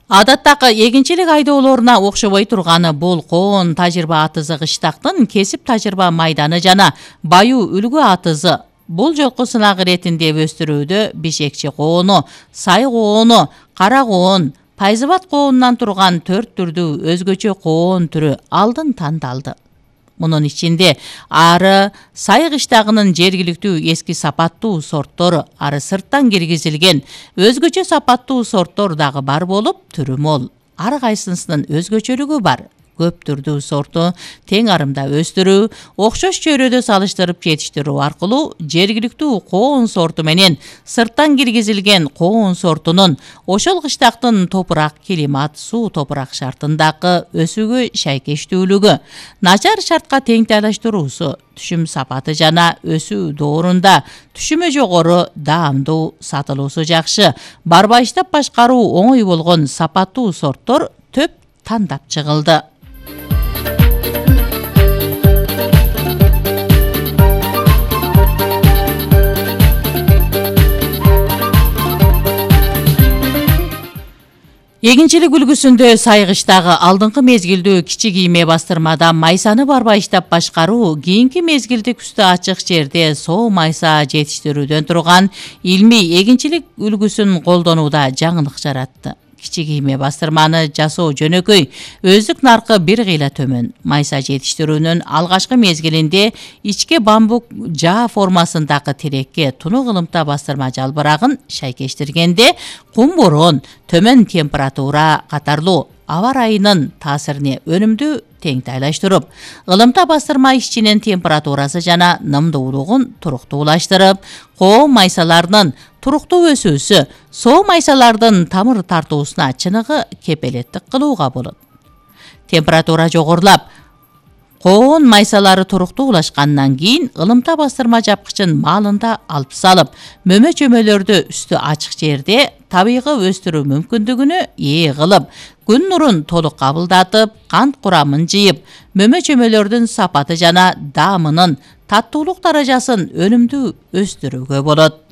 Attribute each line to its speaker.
Speaker 1: Адаттагы эгинчилик айдоолоруна окшобой турганы бул коон тажырба атызы кыштактын кесип тажырба майданы жана баюу үлгү атызы. Бул жолку сынак иретинде өстүрүүдө бишекчи коону, сай коону, кара коон, пайзыбат коонунан турган 4 түрдүү өзгөчө коон түрү алдын тандалды. Мунун ичинде ары сай кыштагынын жергиликтүү эски сапаттуу сорттор, ары сырттан киргизилген өзгөчө сапаттуу сорттор дагы бар болуп, түрү мол. Ар кайсынын өзгөчөлүгү бар. Көп түрдүү сорту тең арымда өстүрүү, окшош чөйрөдө салыштырып жетиштирүү аркылуу жергиликтүү коон сорту менен сырттан киргизилген коон сортунун ошол кыштактын топурак, климат, суу топурак шартындагы өсүүгө шайкештүүлүгү, начар шартка теңтайлаштыруусу, түшүм сапаты жана өсүү доорунда түшүмө жогору, даамдуу, сатылуусу жакшы, барбайыштап башкаруу оңой болгон сапаттуу сорттор төп тандап чыгылды. Эгинчилик үлгүсүндө сай кыштагы алдыңкы мезгилдүү кичи кийме бастырмада майсаны барбайыштап башкаруу кийинки мезгилде күздө ачык жерде соо майса жетиштирүүдөн турган илмий эгинчилик үлгүсүн колдонууда жаңылык жаратты. Кичи кийме бастырманы жасоо жөнөкөй, өздүк наркы бир кыйла төмөн. Майса жетиштирүүнүн алгачкы мезгилинде ичке бамбук жаа формасындагы терекке тунук ылымта бастырма жалбырагын шайкештиргенде кум борон, төмөн температура катарлуу аба ырайынын таасирине өнүмдү теңтайлаштырып, ылымта бастырма ичинин температурасы жана нымдуулугун туруктуулаштырып, коон майсаларынын туруктуу өсүүсү, соо майсалардын тамыр тартуусуна чыныгы кепелеттик кылууга болот. Температура жогорулап, коон майсалары туруктуулашкандан кийин ылымта бастырма жапкычын маалында алып салып, мөмө чөмөлөрдү үстү ачык жерде табигый өстүрүү мүмкүндүгүнө ээ кылып, күн нурун толук кабылдатып, кант курамын жыйып, мөмө чөмөлөрдүн сапаты жана даамынын таттуулук даражасын өнүмдүү өстүрүүгө болот.